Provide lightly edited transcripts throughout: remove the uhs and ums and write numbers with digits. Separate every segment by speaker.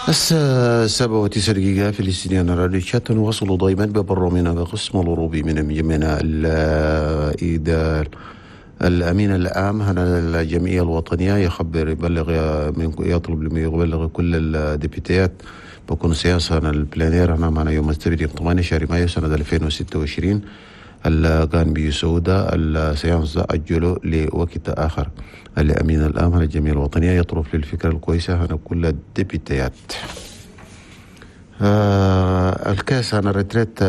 Speaker 1: الساعة 7:09 في الاستديو راديو تشاد. نواصل دائما ببرنامجنا بقسم الأوروبي من جميعنا الإيدال. الأمين العام هنا الجمعية الوطنية يخبر يبلغ من يطلب يبلغ كل ال député ات بكون séance هنا ال plénière هنا معنا يوم السبت يوم 8 شهر مايو سنة 2026 اللي كان بيسودا ال séance أجله لوقت آخر. الأمين العام هنا الجمعية الوطنية يطرف للفكرة الكويسة هنا كل ال député ات. ال caisse هنا retraite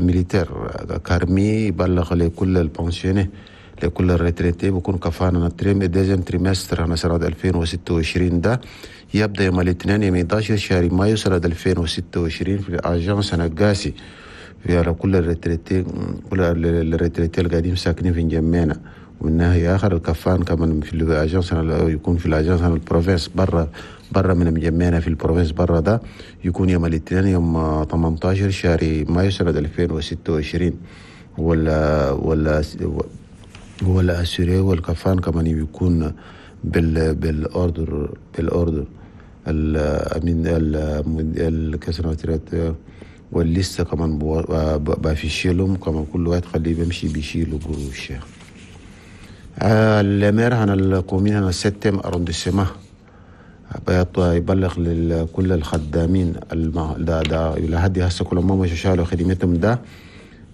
Speaker 1: militaire CARMI يبلغ لكل ال pensionnés لكل ال retraités بكون كفانا ال deuxième trimestre هنا سنة 2026 ده يبدأ يوم الاثنين يوم 11 شهر مايو سنة 2026 في ال agence هنا قاسي في على كل ال retraités، كل ال retraités اللي قاعدين ساكنين في انجمينا. ومن ناحية آخر الكفان كمان في ال agence يكون في ال agence ال province برا برا من مجمعنا في ال province برا ده يكون يوم الاثنين يوم 18 شهر مايو سنة 2026. ولا assuré والكفان كمان يكون بال ordre الامين ال caisse retraite وال liste كمان بافيشيلهم كمان كل واحد خليه بيمشي بيشيلوا قروش. ال maire هنا ال commune هنا septième arrondissement يبلغ لكل الخدامين ده لحد هسه كل ما مشوا شالوا خدمتهم ده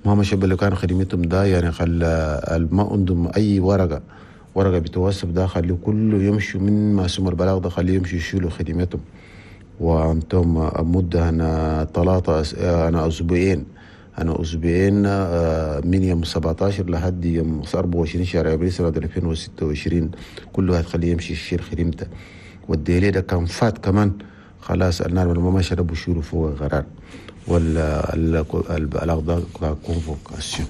Speaker 1: ما مشوا اللي كان خدمتهم ده يعني خل ما عندهم اي ورقه بتوصف ده خليه كله يمشوا من ما سمر البلاغ ده خليه يمشوا يشيلوا خدمتهم. وانتم مدة هنا ثلاثة أنا أسبوعين من يوم 17 لحد يوم 24 شهر أبريل سنة 2026 كل واحد خليه يمشي يشيل خدمته. وال délai ده كان فات كمان خلاص النار ما مشى بشيلوا فوق قرار ولا البلاغ ده convocation.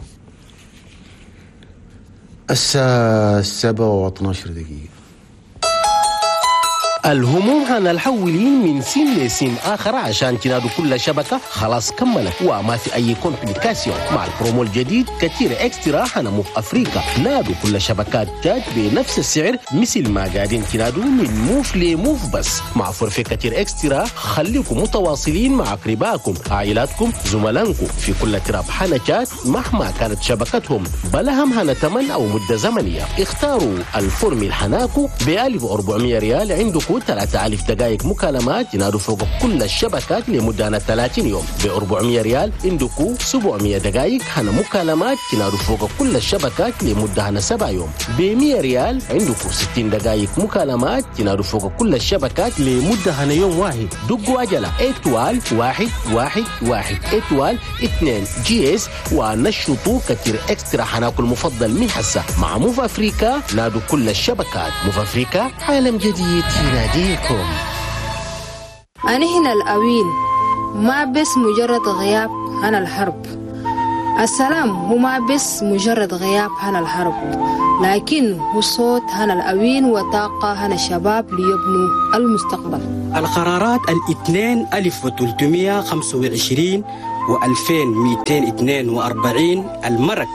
Speaker 1: الساعة 7:12.
Speaker 2: الهموم هنالحولين من سيم لسيم آخر عشان تنادوا كل شبكة خلاص كملت وما في أي complication. مع البرومو الجديد كتير Extra هنا موف أفريقيا نادوا كل شبكات تشاد بنفس السعر مثل ما قاعدين تنادوا من موف لموف، بس مع forfait كتير Extra خليكم متواصلين مع أقربائكم عائلاتكم زملائكم في كل تراب حنا تشاد مهما كانت شبكتهم بلا هم هنا تمن أو مدة زمنية. اختاروا ال formule حناكو ب 1400 ريال عندكم 3000 دقائق مكالمات ينادوا فوق كل الشبكات لمدة 30 يوم. ب 400 ريال عندكم 700 دقائق هنا مكالمات ينادوا فوق كل الشبكات لمدة هنا 7 يوم. ب 100 ريال عندكم 60 دقائق مكالمات ينادوا فوق كل الشبكات لمدة هنا يوم واحد. دقوا عجلة étoile 1 1 1 étoile 2 dièse ونشطوا كتير Extra حناكل المفضل من حسة مع موف أفريكا نادوا كل الشبكات. موف أفريكا عالم جديد يناديكم.
Speaker 3: أنا هنا الأوين ما بس مجرد غياب عن الحرب. السلام هو ما بس مجرد غياب عن الحرب، لكن هو صوت هنا الأوين وطاقة هنا الشباب ليبنوا المستقبل.
Speaker 4: القرارات الاثنين 1325 و2242 المرك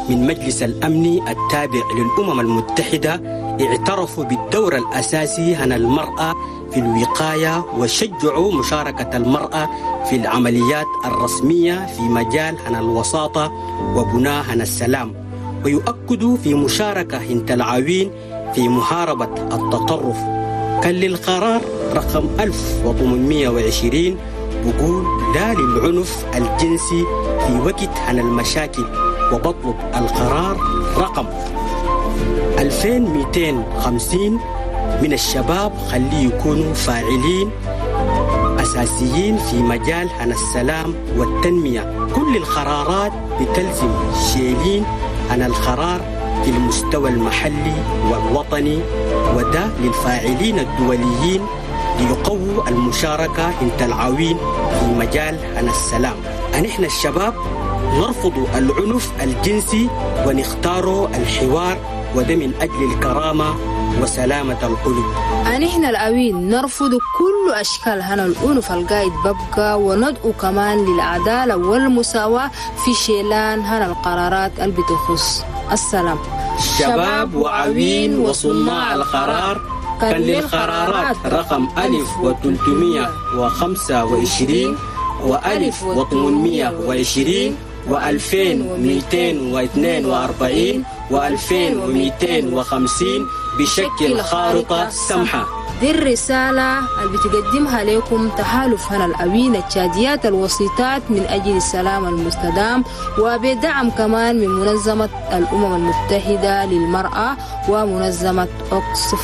Speaker 4: من مجلس الأمن التابع للأمم المتحدة اعترفوا بالدور الأساسي هنا المرأة في الوقاية وشجعوا مشاركة المرأة في العمليات الرسمية في مجال هنا الوساطة وبناء هنا السلام، ويؤكدوا في مشاركة هنت العوين في محاربة التطرف. كان للقرار رقم 1820 بقول لا للعنف الجنسي في وقت هنا المشاكل، وبطلب القرار رقم 2250 من الشباب خليه يكونوا فاعلين أساسيين في مجال هنا السلام والتنمية. كل القرارات بتلزم شيلين عن القرار في المستوى المحلي والوطني، وده للفاعلين الدوليين ليقووا المشاركة انت العوين في مجال هنا السلام. نحن الشباب نرفض العنف الجنسي ونختار الحوار، وده من أجل الكرامة وسلامة القلوب.
Speaker 3: نحن الأوين نرفض كل أشكال هنا العنف القايد ببقى، وندعو كمان للعدالة والمساواة في شيلان هنا القرارات اللي بتخص السلام.
Speaker 4: شباب وعوين وصناع القرار كان للقرارات رقم 1325 و1820 و2242 و2250 بشكل خارطة سمحة.
Speaker 3: دي الرسالة اللي بتقدمها لكم تحالف هنا الأوين التشاديات الوسيطات من أجل السلام المستدام، وبدعم كمان من منظمة الأمم المتحدة للمرأة ومنظمة أوكسفام.